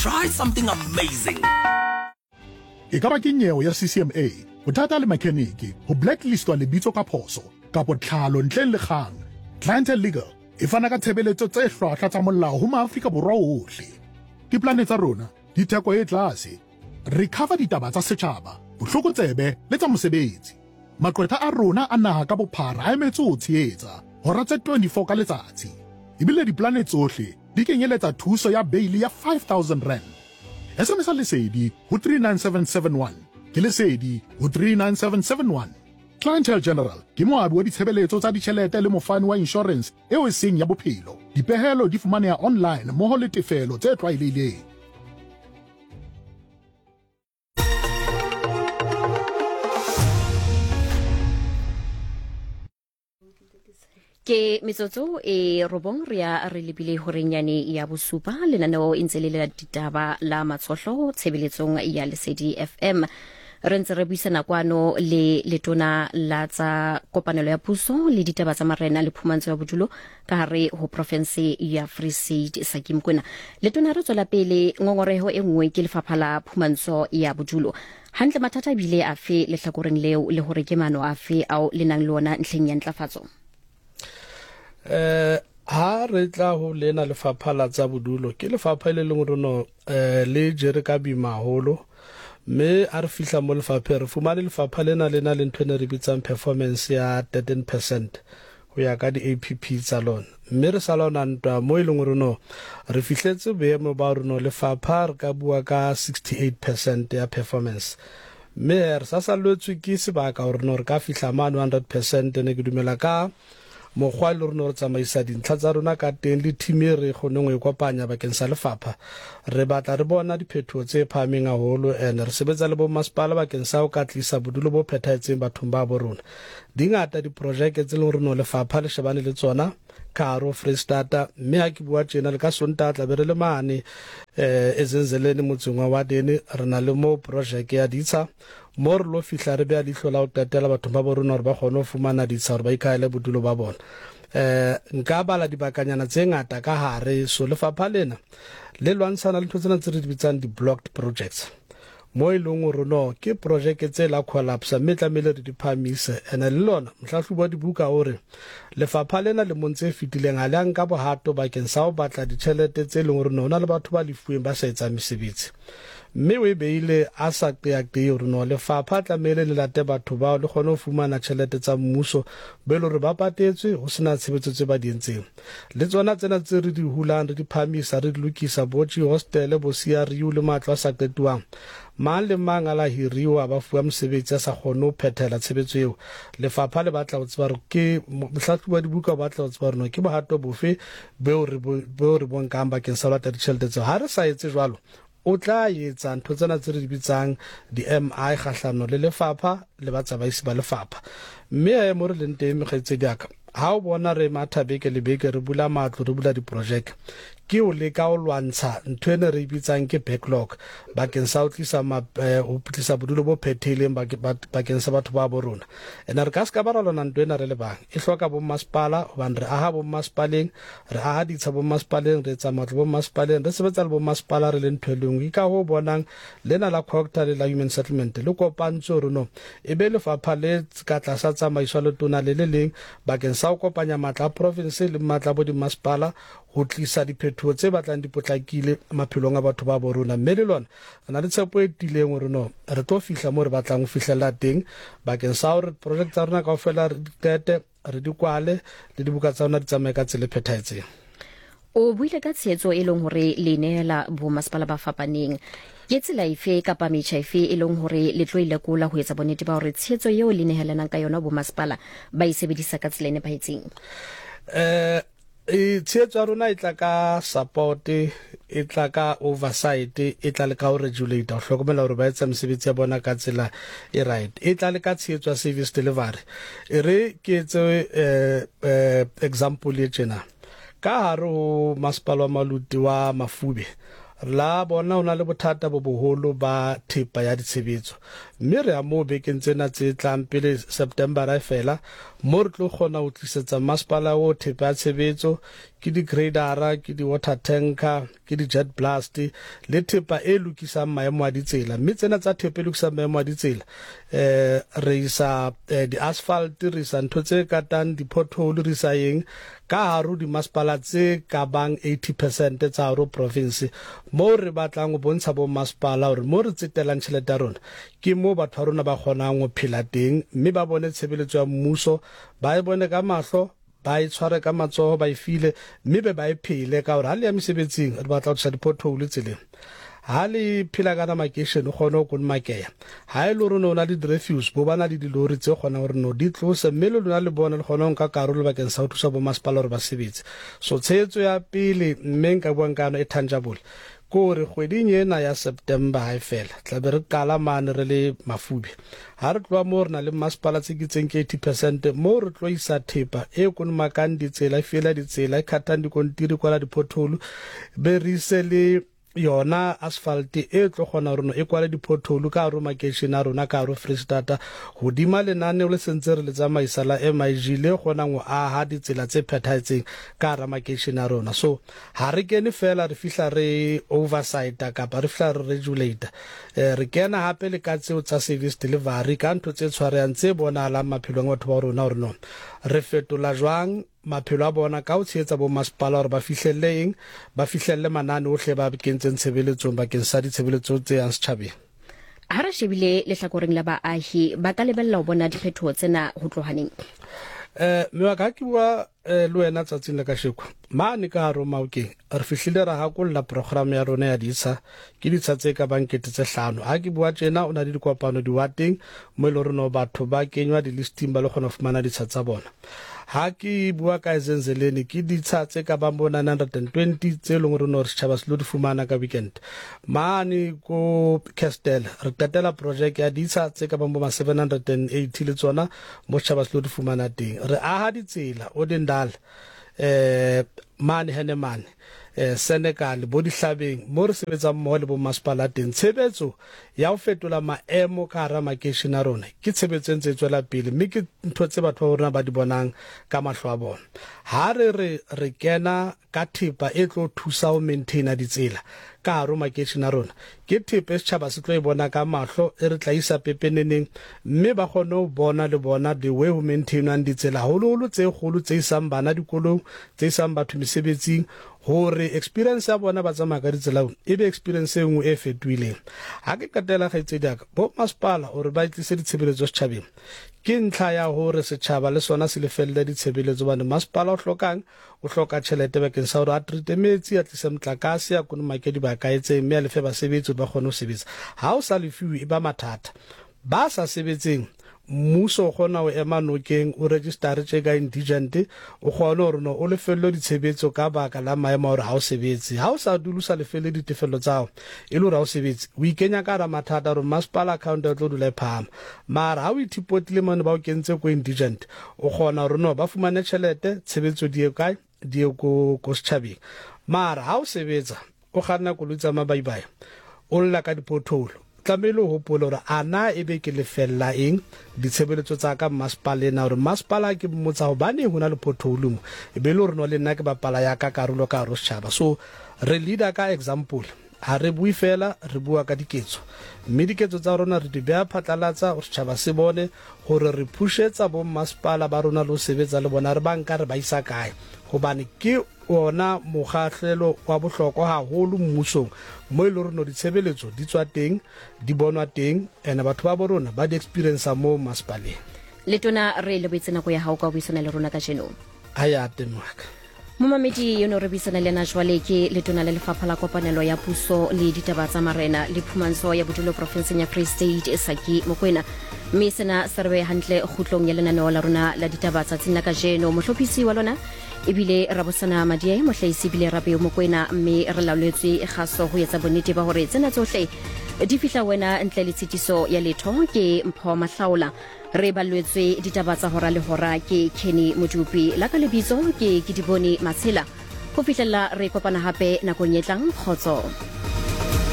Try something amazing. E ka ba ke nyewe ya CCMA, bothata le makheniki, ho blacklistwa lebitso ka phoso, kapo tlhalo ntleng le kgang, Clientele Legal e fana ka tshebeletso tse hlwahlwa tsa molao ho maAfrika Borwa ohle. Dipolane tsa rona di theko e tlase. Re cover ditaba tsa setjhaba, botlokotsebe le tsa mosebetsi. Maqwetha a rona a naha ka bophara a emetse ho tshehetsa, hora tse 24 ka letsatsi. Ebile dipolane tsohle di kenyeletsa thuso ya beili ya R5000. SMS-a Lesedi ho 39771. Ke Lesedi ho 39771. Clientele General ke moabi wa ditshebeletso tsa ditjhelete le mofani wa inshorense eo e seng ya bophelo. Dipehelo di fumaneha online mmoho le tefelo tse tlwaelehileng. Ke metsotso e robong re ya re lebile horenyane ya bosupa. Lenaneo e ntse le le ditaba la matshohlo tshebeletsong ya Lesedi FM. Re ntse re buisana kwano le letona la tsa kopanelo ya puso le ditaba tsa marena le phumantsho ya bodulo ka hare ho province ya Free State, Saki Mokoena. Letona, re tswela pele, ngongoreho e nngwe ke lefapha la phumantsho ya bodulo. Hantle mathata ebile afe lehlakoreng leo, le hore ke maano afe ao le nang le ona ntlheng ya ntlafatso? Ha re tla ho lena lefapha la tsa bodulo, ke lefapha le leng rona le jere ka boima haholo, mme a re fihla mo lefapheng re fumane lefapha lena le na le ntho e ne re bitsang performance ya 13% ho ya ka di-APP tsa lona, mme re sa lwana ntwa mo e leng gore no re fihletse boemo ba gore no lefapha re ka bua ka 68% ya performance, mme re sa salletswe ke sebaka gore no re ka fihla mane 100%. Ne ke dumela ka mokgwa e le rona re tsamaisa dintlha tsa rona ka teng le team e re kgoneng ho e kopanya bakeng sa lefapha, re batla re bona diphetoho tse phahameng haholo, and re sebetsa le bommasepala bakeng sa ho ka tlisa bodulo bo phethahetseng bathong ba bo rona. Di ngata diprojeke tse leng hore no lefapha le shebane le tsona ka hare ho Freistata, mme ha ke bua tjena le ka Sontaha tla be re le mane Ezenzeleni motseng wa Wadeni, re na le moo projeke ya ditsha mo re lo fihla re beha leihlo la ho qetela bathong ba bo rona hore ba kgone ho fumana ditsha hore ba ikahele bodulo ba bona. Nka bala dibakanyana tse ngata ka hare. So lefapha lena le lwantshana le ntho tsena tse re di bitsang di-blocked projects, mo e leng hore no ke projeke tse la collapse mme tlamehile re di phahamise. Ene le lona mohlahlobi wa dibuka o re lefapha lena lemong tse fetileng ha le a nka bohato bakeng sa ho batla ditjhelete tse leng hore no ho na le batho ba lefuweng ba sa etsang mesebetsi, mme o e beile a sa qeaqee hore no lefapha tlamehile le late batho bao le kgone ho fumana tjhelete tsa mmuso be le hore ba patetswe ho sena tshebetso tse ba di entseng. Le tsona tsena tse re di hulang re di phahamisa re di lokisa, bo hostele, bo CRU le matlo a sa qetuwang, mang le mang a la hiriwa ba fuwa mosebetsi a sa kgone ho phethela tshebetso eo. Lefapha le batla ho tseba hore ke mohlahlobi wa dibuka o batla ho tseba hore no ke bohato bofe beo re beo re bo nkang bakeng sa ho lata ditjhelete tseo. Ha re sa etse jwalo, o tla etsa ntho tsena tse re di bitsang di-MI kgahlano le lefapha le batsamaisi ba lefapha. Mme he mo re leng teng mekgaitsedi ya ka, ha o bona re matha beke le beke re bula matlo, re bula diprojeke, ke ho leka ho lwantsha ntho ene re e bitsang ke backlog bakeng sa ho tlisa ho tlisa bodulo bo phethehileng bakeng sa batho ba bo rona. Ene re ka se ka ba ra lwana ntwa ena re le bang, e hloka bommasepala, hobane re aha bommasepaleng, Re aha ditsha bommasepaleng, re etsa matlo bommasepaleng, re sebetsa le bommasepala re le ntho e le nngwe. Ke ka hoo bonang lena la COGTA le la Human Settlement le kopantswe hore no e be lefapha le ka tlasa tsamaiso ya letona le le leng bakeng sa ho kopanya matla a profinse le matla a bo dimmasepala ho tlisa diphetoho tse batlang di potlakile maphelong a batho ba bo rona. Mme le lona re na le tshepo e tiileng hore no re tlo fihla moo re batlang ho fihlella teng bakeng sa hore project tsa rona kaofela re di qete, re di kwale le dibuka tsa rona di tsamaye ka tsela e phethahetseng. O buile ka tshehetso e leng hore le neela bomasepala ba fapaneng. Ke tsela efe kapa metjha efe e leng hore le tlo e lekola ho etsa bonnete ba hore tshehetso eo le nehelanang ka yona bomasepala ba e sebedisa ka tsela e nepahetseng? Tshehetso ya rona e tla ka support, e tla ka oversight, e tla le ka ho regulate, ho hlokomela hore ba etsa mesebetsi ya bona ka tsela e right, e tla le ka tshehetso ya service delivery. E re ke etse example e tjena. Ka hare ho masepala wa Maluti wa Mafube, la bona ho na le bothata bo boholo ba thepa ya ditshebetso. Mme re ya moo bekeng tsena tse tlang pele Septembera e fela, mo re tlo kgona ho tlisetsa masepala wo thepa ya tshebetso, ke di-gradera, ke di-water tanker, ke di-jet blast le thepa e lokisang maemo a ditsela. Mme tsena tsa thepa e lokisang maemo a ditsela, eh, re isa eh, di-asphalt, re isa ntho tse katang di-pothole, re isa eng ka hare ho dimasepala tse ka bang 80 percent tsa hare ho province, moo re batlang ho bontsha bommasepala hore mo re tsetelang tjhelete ya rona ke moo batho ba rona ba kgonang ho phela teng, mme ba bone tshebeletso ya mmuso, ba e bone ka mahlo, ba e tshware ka matsoho, ba e file, mme be ba e phele. Ka hore ha le ya mesebetsing, re batla ho tlosa di-pothole tseleng. Ha le phela ka makeishene, o kgone ho konomakeya. Ha e le hore o ne o na le di-refuse, bo ba na le dilori tse kgonang hore no di tlose, mme le lona le bone le kgone ho nka karolo bakeng sa ho thusa bomasepala hore ba sebetse. So tshehetso ya pele mme nka buang ka yona e tangible ke hore kgweding ena ya September ha e fela, tla be re qala mane re le Mafube. Ha re tloha moo re na le mmasepala tse ke itseng ke 80 percent moo re tlo isa thepa e konomakang ditsela, e fiela ditsela, e khathang dikontiri, kwala di-pothole, be re ise le yona asphalt e tlo kgona hore no e kwale di-pothole ka hare ho makeishene a rona ka hare ho Freistata, hodima lenaneo le sentse re le tsamaisa la MIG le kgonang ho aha ditsela tse phethahetseng ka hara makeishene a rona. So ha re kene fela re fihla re oversight kapa re fihla re regulate, eh, re kena hape le ka tseo tsa service delivery, ka ntho tse tshwarehang tse bonahalang maphelong a batho ba rona hore no re fetola jwang maphelo a bona ka ho tshehetsa bommasepala hore ba fihlelle eng, ba fihlelle manane ohle ba kentseng tshebeletsong bakeng sa ditshebeletso tse yang setjhabeng. Ha re shebile lehlakoreng la baahi, ba ka lebella ho bona diphetoho tsena ho tloha neng? Eh, mme wa ka, ha ke bua eh, le wena tsatsing la kasheko mane ka hare ho Maokeng, re fihlile ra hakolla program ya rona ya ditsha, ke ditsha tse ka bang 5000. Ha ke bua tjena, o na le dikopano diwateng mo e le hore no batho ba kenywa di-listing ba lo kgona ho fumana ditsha tsa bona. Ha ke bua ka Ezenzeleni, ke ditsha tse ka bang bo 920 tse leng hore no re setjhaba se lo di fumana ka weekend. Mane ko Castel re qetela project ya ditsha tse ka bang bo ma 780 le tsona mo setjhaba se lo di fumana teng. Re aha ditsela Odendal, eh mane Hennemane, eh Senekal, bo Dihlabeng mo re sebetsang mmoho le bo masepala teng. Tshebetso ya ho fetola maemo ka hara makeishene a rona ke tshebetso e ntse e tswela pele, mme ke ntho tse batho ba rona ba di bonang ka mahlo a bona. Ha re re re kena ka thepa e tlo thusa ho maintaina ditsela ka hare ho makeishene a rona, ke thepa e setjhaba se tlo e bona ka mahlo, e re tla isa pepeneneng, mme ba kgone ho bona le bona the way ho maintainwang ditsela, haholoholo tse kgolo tse isang bana dikolong, tse isang batho mesebetsing, hore experience ya bona ba tsamaya ka ditsela e be experience e nngwe e fetohileng. Ha ke qetela, kgaitsedi ya ka, bo masepala hore ba tlise ditshebeletso setjhabeng ke ntlha ya hore setjhaba le sona se lefelle ditshebeletso, hobane masepala o hlokang, o hloka tjhelete bakeng sa hore a treate metsi, a tlise motlakase, a konomake dibaka etseng, mme a lefe basebetsi hore ba kgone ho sebetsa. Ha o sa lefiwe e ba mathata. Ba sa sebetseng, mmuso o kgona ho ema nokeng, o register tje ka indigent, o kgone hore no o lefellwe ditshebetso ka baka la maemo a hore ha o sebetse. Ha o sa dule o sa lefelle ditefello tsa hao, e le hore ha o sebetse, o ikenya ka hara mathata hore masepala account ya tlo dula e phahama. Mara ha o ithipotile mane ba o kentse ko indigent, o kgona hore no ba fumane tjhelete, tshebetso di ye kae, di ye ko ko setjhabeng. Mara ha o sebetsa, o kganna koloi tsa mabaibai, o lla ka di-pothole, tlamehile o hopole hore a na ebe ke lefella eng ditshebeletso tsa ka mmasepala ena, hore mmasepala ke mmotsa hobaneng ho na le pothole mo, e be le hore no le nna ke bapala ya ka karolo ka hare ho setjhaba. So re leader ka example, ha re bue fela, re bua ka diketso, mme diketso tsa rona re di beha phatlalatsa hore setjhaba se bone hore re pushetsa bo mmasepala ba rona le ho sebetsa le bona, re ba nka re ba isa kae, hobane ke ona mokgahlelo wa bohlokwa haholo mmusong mo e le hore no ditshebeletso di tswa teng, di bonwa teng, ene batho ba bo rona ba di experience mo masepaleng. Letona, re lebohetse nako ya hao ka ho buisana le rona kajeno. Ha ya teng waka. Momamedi yo no re buisana le ena jwale ke letona la lefapha la kopanelo ya puso le ditaba tsa marena le phumantsho ya bodulo porofenseng ya Free State, Saki Mokoena. Mme sena se re behe hantle kgutlong ya lenaneo la rona la ditaba tsatsing la kajeno. Mohlophisi wa lona ebile Rabosana Madiae, mohlahisi ebile Rabeo Mokoena, mme re laoletswe kgaso ho etsa bonnete ba hore tsena tsohle di fihla wena ntle le tshitiso ya letho ke Mpho Mahlaola. Re ballwetswe ditaba tsa hora le hora ke Kenny Modupi, la ka lebitso ke Kedibone Matshela. Ho fihlella re kopana hape nakong e tlang, kgotso.